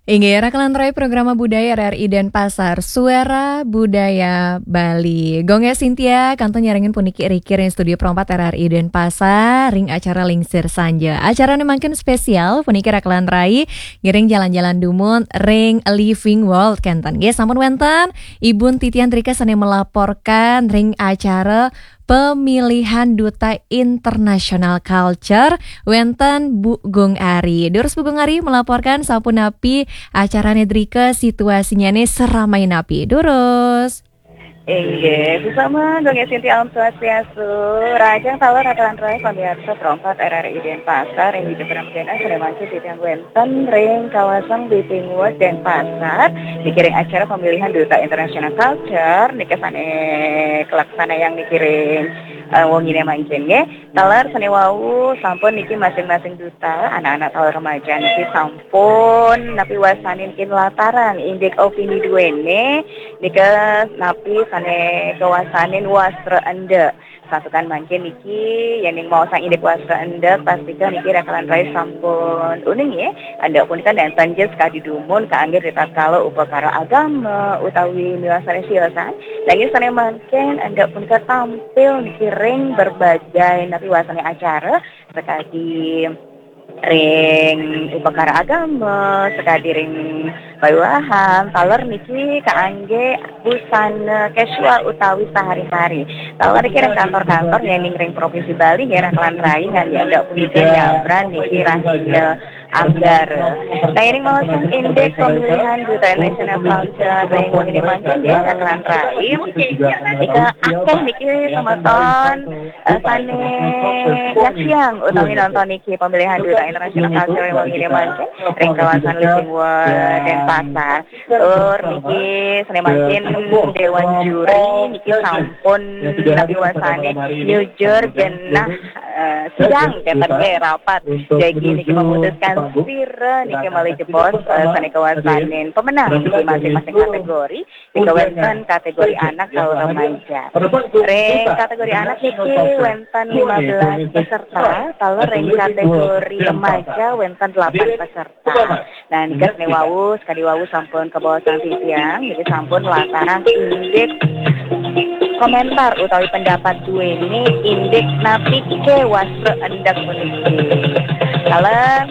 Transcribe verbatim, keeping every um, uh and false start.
Inggih, rakelan rai programa budaya R R I Denpasar, Suara Budaya Bali. Gong Sintia, kantun nyarengin puniki riki ring studio perempat R R I Denpasar, ring acara Lingsir Sanja. Acarane mangkin spesial, puniki rakelan rai, ngiring jalan-jalan dumun, ring Living World, kenten. Nggih, sampun wenten, Ibu Titian Drika sane melaporkan, ring acara Pemilihan Duta International Culture, wenten Bu Gung Ari. Durus Bu Gung Ari melaporkan sapunapi acarane drika, situasinyane seramai napi. Durus. Inggih, sesama Gung Sintia, Om Swastiastu. Rahajeng taler rakelan rai pamiarsa perempat R R I Denpasar, ring Widyapara Medana, sane mangkin titiang wenten ring kawasan Living World Denpasar, niki ring acara pemilihan Duta International Culture, niki sane kalaksanayang niki ring, eh, wengine mangkin, nggih. Taler sane wau sampun niki masing-masing duta, anak-anak taler remaja niki sampun napi wasane niki nlatarang indik opini duene, nika napi sane kawasanin wastra endek. Santukan mangkin niki, yening maosang indik wastra endek, pastika niki rakelan rai sampun uning, nggih. Endek punika nenten ja sakadi dumun kaangge ritatkala upakara agama utawi miwah sane siosan. Nanging sane mangkin endek punika tampil niki ring berbagai napi wasane acara, sakadi ring upakara agama, sakadi ring pawiwahan, taler niki kaangge busana casual utawi sehari-hari. Taler niki ring kantor-kantor, yening ring Provinsi Bali, nggih, rakelan rai, nggih, endek punika nyabran niki rahina Anggara. Nah, yening maosang indik pemilihan Duta International Culture ring wengine mangkin, nggih, rakelan rai, nika akeh niki semeton, eh, sane nyaksiang utawi nonton niki pemilihan Duta International Culture ring wengine mangkin ring kawasan Living World Denpasar. Tur niki sane mangkin dewan juri niki sampun napi wasane nyujur genah, eh, sidang, kenten, nggih, rapat. Jagi niki memutuskan sira niki malih jebos, eh, sane kawasanin pemenang niki masing-masing kategori. Nika wenten kategori anak taler remaja. Ring kategori anak niki wenten lima belas peserta, taler ring kategori remaja wenten delapan peserta. Nah, nika sane wau, sakadi wau sampun kabaosang titiang, niki sampun nlatarang indik komentar utawi pendapat duene indik napi ke wastra endek puniki. Taler